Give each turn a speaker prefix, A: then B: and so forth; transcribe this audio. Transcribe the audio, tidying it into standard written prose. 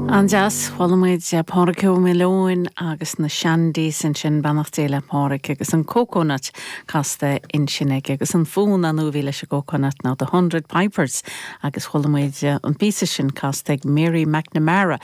A: An-deas, chuala muid Pádraig Ó Maoileoin agus na Shandies ansin, beannacht Dé le Pádraig agus an Coconut casta ansin aige agus an fonn ar ndóigh a bhí leis an gCoconut ná The Hundred Pipers agus chuala muid an píosa sin casta ag Mary McNamara.